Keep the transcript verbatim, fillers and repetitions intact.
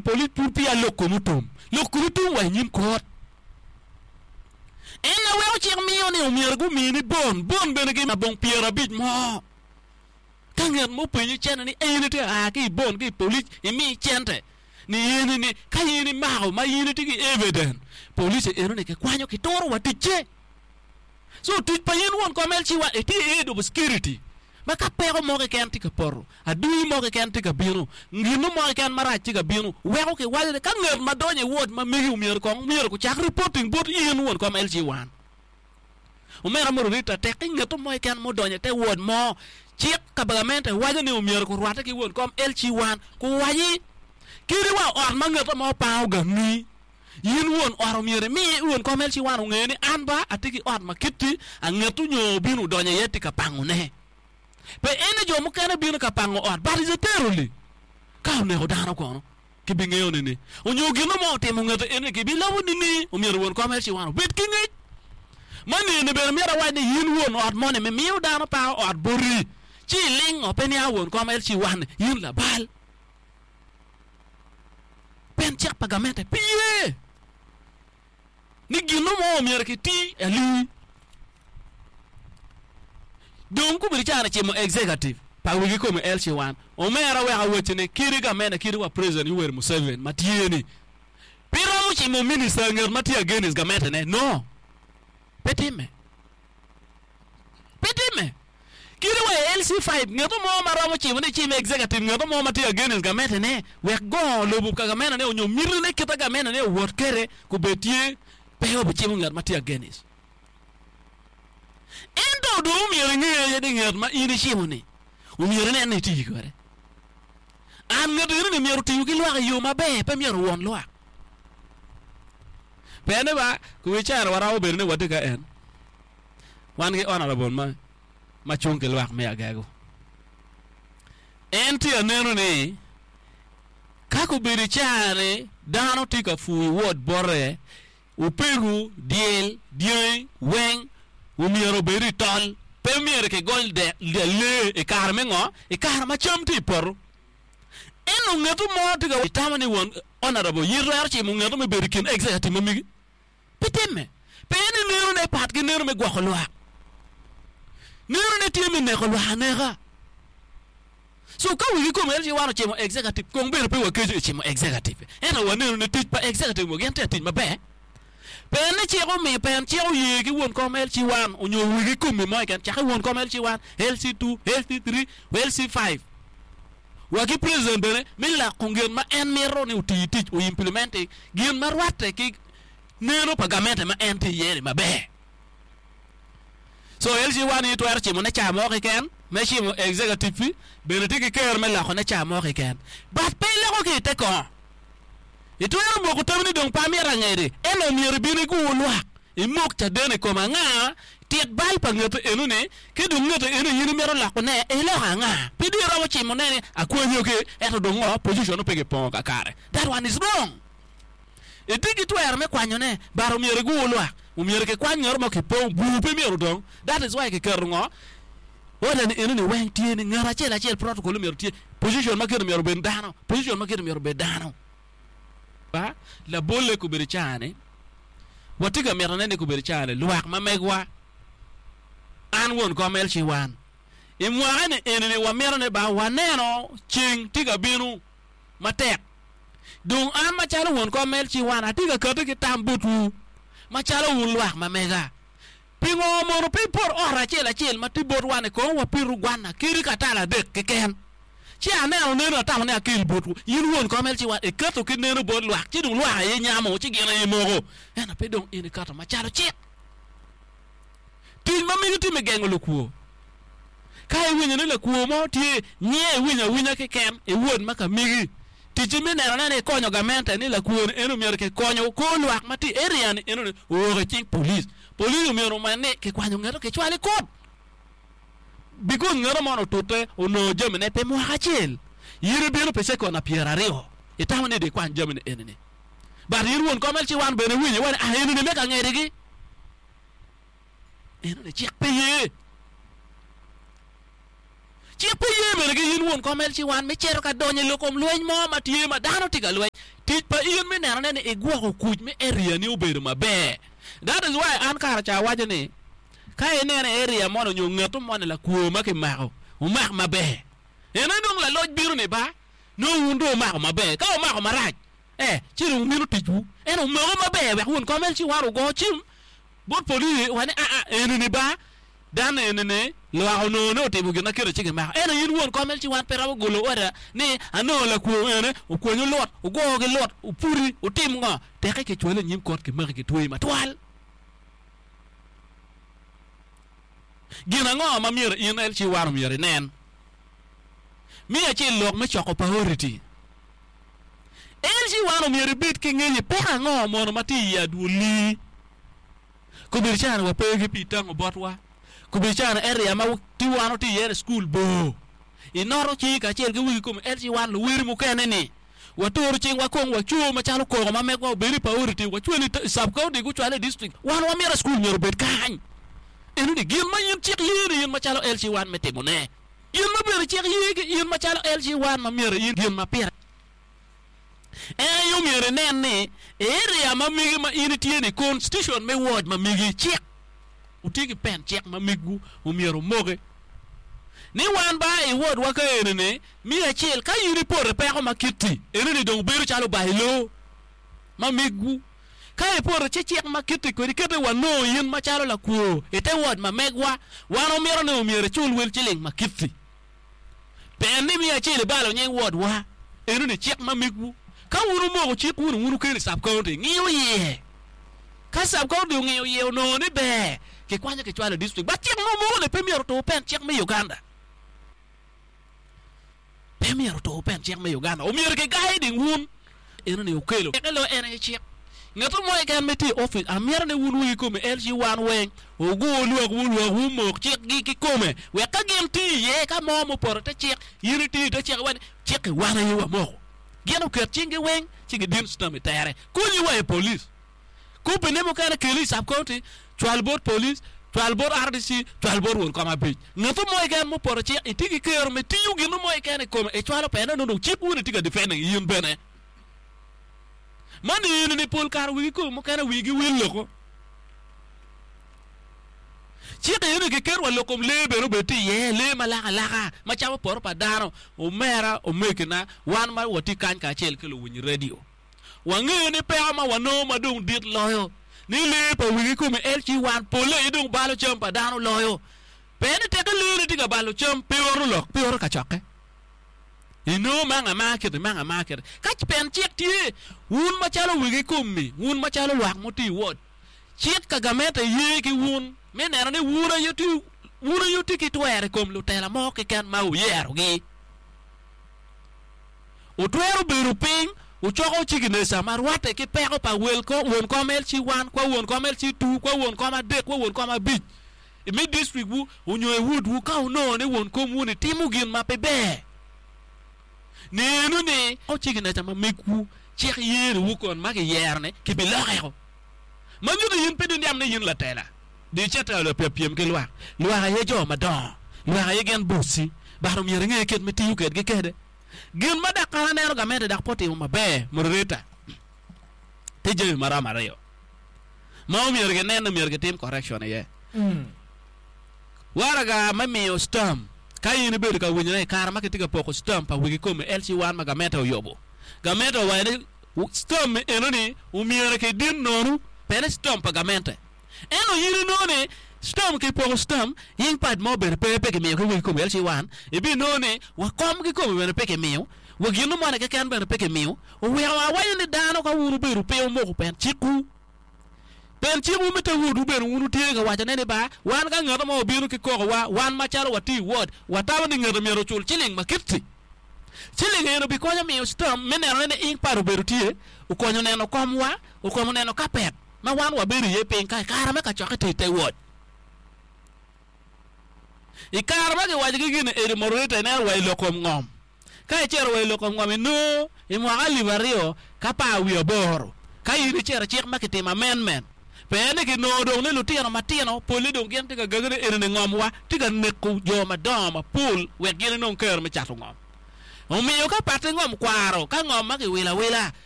Polic pud peya lok kom otum. Lok kom otum wa i nyim kot. En na weko cik miyo ni omyero gumini bon. Bon bene ki labong pyerabic mo. Ka ngat mo openyi cente ni en itye a ki i bon ki i polic imi cente ni in ni ka in imako ma in itye ki evidence police eno ni kikwanyo kituro wa ticce. So tic pa in won kom L C one itye head of security ma ka peko mo keken tye ka poto, adui mo keken tye ka bino, gino mo keken marac tye ka bino, weko kiwaco ni ka ngat ma donyo i ward ma megi omyero kong myero kucak reporting bot in won kom L C one. Omera moderator tek ki ngeto mo keken mudonyo i te ward mo cik ka gamente waco ni omyero kurwatte ki won kom L C one kuwaci kadi wa ot ma ngeto mo pango gangi in won ot omyero imi won kom L C one onge ni an ba atye ki ot ma kiti angeto nyo obino odonyo iye tye ka pangone pe en ni jo mukene bino ka pango ot, but is a terrorist ka oneko dano kono kibingeo nini onyo gino mo otimo ngete eni kibilobo nini omyero won kom L C one obed ki ngec ma nini bene myero awac ni in won ot moni mimiyo dano pango ot boti ci ilingo pe nia won kom L C one in labal pen cik pa gamente pe ye ni gino mo omyero kiti ali dong kobedo cani cimo executive pa wigi kome L C one omera wek awacci ni kidi gamente kidi wa President Yoweri Museveni ma tye ni pe romo cimo minister nget ma tye against gamente ne no pe time pe time kidi wa i L C five ngeto mo ma romo cimo ni cimo executive ngeto mo ma tye against gamente ne wek go lobo ka gamente ne onyo mitine kita gamente ne owot kede kubed tye pe obicimo nget ma tye against ento dong omyero inge aye ni nget ma in icimo ni omyero inen ni iti kwede an nget eno ni myero otiyo ki lwak i yo maber pe myero owon lwak pene ba kuwi caro waromo bedo ni watye ka en wan ki honorable ma ma cung ki lwak me agego en tye aneno ni ka kobedo i caa-ni dano tye ka pur i ward bote opego dyel dyangi weng omyero obed i tol pe myero kigony dek lee i kare me ngo i kare ma cam tye i poto ento ngeto mo tye ka itamo ni won honorable in twero cimo ngeto me bedo i kin executive ma megi pe timme pe ni nenone pat ki neno me gwoko lwak nenone tye me neko lwak aneka so ka wigi kom L C one ocimo executive kong bene pe wakeco i cimo executive ento waneno ni tic pa executive mo gin tye tic maber pen ni cik omiyo pen cik oye ki won kom L C one onyo wigi komi mo keken cake won kom L C one L C two L C three L C five wa ki president bene mi loko gin ma en mito ni oti tic o implement gin ma rwatte ki neno pa gamente ma en tye iye ni maber so L C one ni twero cimo ne ca mo keken me cimo executive bene tye ki ker me loko ne ca mo keken but pe iloko ki i te kongo itwero moko tam ni dong pe amito angedi ento myero ibin igur lwak imok caden i kom anga tit bal pa ngete eno ni ki dong ngete eno in imito lokone iloko anga pe dong iromo cimo ne ni akwanyo ki ento dong ngo position pe kipongo kakare. That one is wrong. Itye ki twero me kwanyone but omyero igur lwak omyero kikwany ngeto mo kipong bur pe myero odong. That is why kiketo ngo order ni eno ni weng tye ni ngat acel acel protocol myero tye position ma kite myero obed dano position ma kite myero obed dano ba labolle kobedo caa-ni watye ka mitone ni kobedo caa-ni lwak ma megwa an won kom L C one i mwaka ni eni wamito ni ba waneno ceng tye ka bino matek dong an macalo won kom L C one atye ka kati ki tam botwu macalo wun lwak ma mega pingo mono pe ipot ot acel acel ma tye bot wan-ni kong wapitu gwana kadi katalo adek keken ci aneno neno atamo ni akel botwu in won kom L C one iketo ki neno bot lwak ci dong lwak aye nyamo ci gin aye moko ento pe dong in iketo macalo cik tic ma megi tye me gengo lukwo ka iwinyo ni lakwo mo tye nyiye iwinyo awinya keken iwot ma ka megi ticci me nenone ni ikonyo gamente ni lakwo ni eno myero kikonyo kor lwak ma tye i area ni eno ni owok i cing police police omyero onen ni kikwanyo ngeto kicwalo i kot because ngeto mono otute onongo jamine pi mwaka acel in ibino pi second pyeraryo itamo ni ikwany jamine eni ni but in won kom L C one bene iwinyo iwaco ni ah eni ni me ka ngedigi eno ni cik pe ye. Cik pe ye bene ki in won kom L C one me cito ka donyo i lok kom lweny mo ma tye ma dano tye ka lweny. Tic pa in me nenone ni igwoko kuc me area ni obedo maber. That is why an kare ca awaco ni ka ineno area mono nyo ngeto moni lakwo ma kimako omak maber. Ene dong laloc bino ni ba nongo wun dong omako maber. Ka omako marac, eh, ci dong mino ticwu. En omako maber wek won kom L C one ogo cim bot polisi wa ni aa eni ni ba dan eni ni lwak onongo ni otimo gin ma kelo ci gimako. Ento in won kom L C one pe romo golo order ni anongo lakwo ene okwonyo lut, ogo ki lut, opuri, otim ngo. Teke kicwale i nyim kot kimaki kitweyi matwal. Gin ango ma myero in L C one omyero inen? Mi acel lok me coko priority. L C one omyero ibed ki ngec i peko ango mono ma tye i adwoli. Kobedo cani wape ki pii tango botwa. Kobedo cani area ma ti wan oti iye ni school bor. Inoto cingi kacel ki wigi komi L C one luweri mukene ni watoro cingwa kong wacuo macalo koko ma megwa obedo i priority wacwalo i sub county gucwale i district. Wan wamito school myero obed kany. Eno ni gin ma in cik ye ni in macalo L C one me timone. Gin ma bene cik ye ki in macalo L C one ma myero in gin ma pire. En aye omyero inen ni area ma megi ma in itye ni constitution me ward ma megi cik otye ki pen cik ma megwu omyero omoke. Ni wan ba i ward wa ka eni ni miya acel ka in ipoto i peko ma kiti eno ni dong bedo calo bailo ma megwu. Ka ipoto ci cik ma kiti kwedi kete wanongo in macalo lakwo i te ward ma megwa wan omito ni omyero icul wel ciling ma kiti. Pen ni miya acel ibalo nying ward wa eno ni cik ma megwu. Ka wun omoko cik wun wun okelo i sub county ngiyo iye. Ka sub county ongiyo iye onongo ni ber kikwanyo kicwalo i district. But cik ma omoko ni pe myero otur pen cik me Uganda. Pe myero otur pen cik me Uganda. Omyero kigayi ding wun eno ni okelo. Eke lo en aye cik. Ngeto mo keken ma tye i office amito ni wun wigi kome L C one weng ogur lwak wu lwak wu mok cik gi kikome wek ka gin tye iye ka mo mupoto te cik in itiyo te cik iwaci cik-ki wan aye wamoko. Gin oket cinggi weng ci gidin stamp i tere. Konyi wa i police. Kopine mukene keli i sub county cwal bot police, cwal bot R D C, cwal bot won kom abic. Ngeto mo keken mupoto cik itye ki kero me tiyo gin mo keken i kome icwalo pene nongo dong cik wun itye ka defending in bene. Man eni ni pol kare wigi kome mukene wigi wil loko. Cik eni kiket wa lok kom lee bene obed tye iye, lee ma lak alaka ma camo poto pa dano. Omera, omegina, wan ma watye kany kacel ki luwiny radio. Wangeyo ni peko ma wanongo ma dong dit loyo ni lee pa wigi kome L C one pole aye dong balo cam pa dano loyo. Pe ni teke lee ni tye ka balo cam pe oro lok, pe oro kacokke. Inongo manga ma kiti, manga ma kiti. Ka pen cik tye, wun macalo wigi komi, wun macalo lwak muti i ward, cik ka gamente ye ki wun me neno ni wun aye tye, wun aye wutye ki twero i kom lutela mo keken ma wuyerogi. Wutwero bedo piny, wucoko cigineca ma rwatte ki peko pa wel ko, won kom L C one, kwa won kom L C two, kwa won kom adek, kwa won kom abic i district wu onyo i ward wu ka wunongo ni won komwu ni timo gin ma pe ber. Nenu ni cigineca ma megwu cik yeriwu kon ma giyero ni kibilokeko. Ma nyuto in pe diniam ni in latela. Di icit ka pyem ki lwak. Lwak aye jo madongo. Lwak aye gin bossi. But omyero inge kit me tiyo kedgi kede. Gin ma dok an aneno gamente dok pe otimo maber, moderator, tye jami maromo aryo ma omyero ginen ni omyero gitim correction iye. Waraga me miyo stamp, ka in ibedo ka winyone i kare ma kitye ka poko stamp pa wigi kome L C one ma gamente oyubo, gamente owaco ni stamp enoni omyero kidin nono pene stamp pa gamente. Ento in inongo ni stamp kipoko stamp ink pad mo bene pe pe kimiyo ki wigi kome L C one, ibinongo ni wa kom kikome bene pe kimiyo, wa gino moni keken bene pe kimiyo. Oweko awaco ni dano ka wun wubedo pe wumoko pen cikwu. Pen cikwu me te wotwu bene wun wutye ka wacone ni ba wan ka ngat mo obino ki kokowa wan macalo watye i ward watamo ni ngete myero ocul ciling ma kiti. Ciling eno bikonyo miyo stamp me nenone ni ink pad obedo tye, okonyo neno komwa, okonyo neno kapet ma wan wabedo iye piny ka i kare me kacokke tye i te ward. I kare ma kiwaco ki gin eni moderator ineno wa i lok kom ngom. Ka icito wa i lok kom ngom inongo i mwaka alip aryo ka apar wiye aboro ka in icito cik ma kitimo amendment Pien ni kinongo dong ni lutino matino pole dong gin tye ka gagane eni ngom wa tye ka neko jo madongo mapol wek gin inong kero me cato ngom. Omiyo ka pati ngom kwaro ka ngom ma kiwilo awila.